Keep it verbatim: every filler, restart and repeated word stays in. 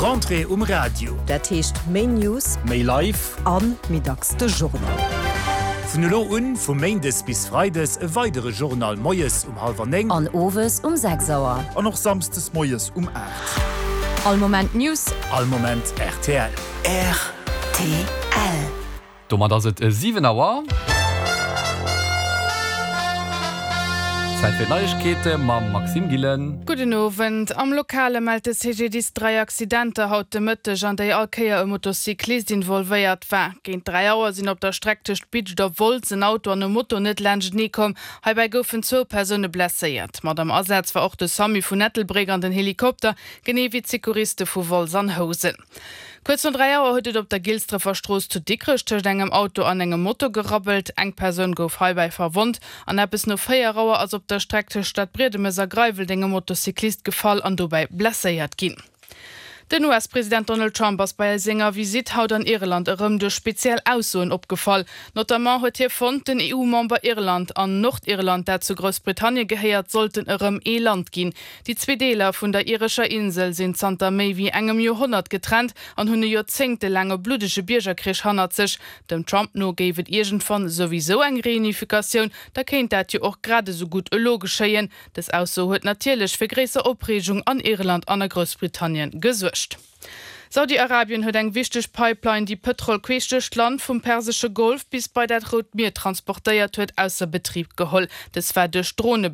D'Rentrée um Radio. Dat heescht méi News, Méi live. An méi dacks de Journal. Vun elo un, vu Méindes bis Freides, e weidere Journal moies um hallwer néng. An owes um sechs Auer. An och samsdes moies um aacht. All Moment News. All Moment rtl. Rtl. Domat ass et siwen Auer. Zäit fir d'Neiegkeete mam Maxime Gillen. Gudden Owend. Am Lokale mellt de C G D I S dräi Accidenter haut de Mëtteg, an déi all Kéier e Motocyclist involvéiert war. Géint dräi Auer sinn op der Streck tëscht Bidscht a Wolz en Auto an e Moto net laanschtenee komm. Heibäi goufen zwou Persoune blesséiert. Mat am Asaz war och de SAMU vun Ettelbréck an den Helikopter, genee wéi d'Secouriste vu Wolz an Housen. Kuerz no dräi Auer huet et op der Gilsdrëffer Strooss zu Dikrech tëscht engem Auto an engem Moto gerabbelt. Eng Persoun gouf heibäi verwonnt. An eppes no véier Auer ass op der Streck tëscht Stadbriedemes a Greiweldeng e Motocyclist gefall an dobäi blesséiert ginn. Den U S-President Donald Trump ass bei senger Visitt haut an Irland erëm duerch speziell Aussoen opgefall. Notamment huet hie fonnt, den E U-Member Irland an Nordirland, dat zu Groussbritannien gehéiert, sollten erëm ee Land ginn. Déi zwee Deeler vun der irescher Insel sinn zanter méi wéi engem Joerhonnert getrennt an hunn e joerzéngtelaange bluddege Biergerkrich hannert sech. Dem Trump no géif et iergendwann souwisou eng Reunifikatioun, da kéint dat jo och grad esou gutt elo geschéien. Dës Ausso huet natierlech fir gréisser Opreegung an Irland an a Groussbritannien gesuergt. Saudi-Arabien huet eng wichteg Pipeline, déi Pëtrol queesch duerch d'Land vum Persesche Golf bis bei dat Rout Mier transportéiert huet, ausser Betrib geholl. Dës war duerch Drone